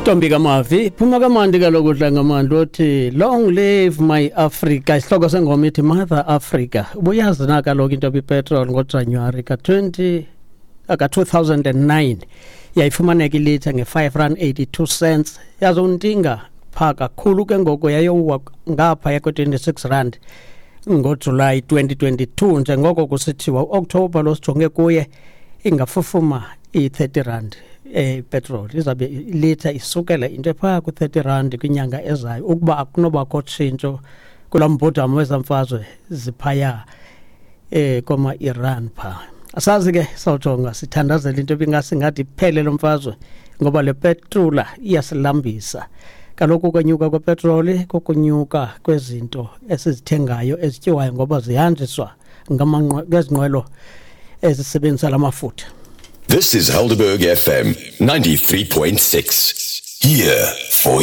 Ntombi kaMavi, phuma kamandi kaloku Dlangamandla othi "Long Live My Africa". Isihloko sengoma ithi "Mother Africa". Ubuyazi na kaloku into yoba ipetrol ngoJanuwari ka-20 ka-2009 yayifumaneka ilitha nge-5 rand 82 cents, yazontinga phaa kakhulu ke ngoku yayowa ngaphaya kwe-26 rand ngoJulayi 2022. Njengoko kusithiwa uOkthobha lo sijonge kuye ingafufuma i-30 rand epetrol, izabe ilitha isukela into ephaa ku-30 rand kwinyanga ezayo ukuba akunobakho tshintsho kulaa mbhodamo wezamfazwe ziphaya koma-Iran phaa. Asazi ke, sawujonga sithandazela into ebingasingathi iphele lo mfazwe, ngoba le petrula iyasilambisa kaloku. Ukwenyuka kwepetroli kukunyuka kwezinto esizithengayo ezityiwayo, ngoba zihanjiswa ngezinqwelo ezisebenzisa la mafutha. This is Helderberg FM 93.6. Here for you.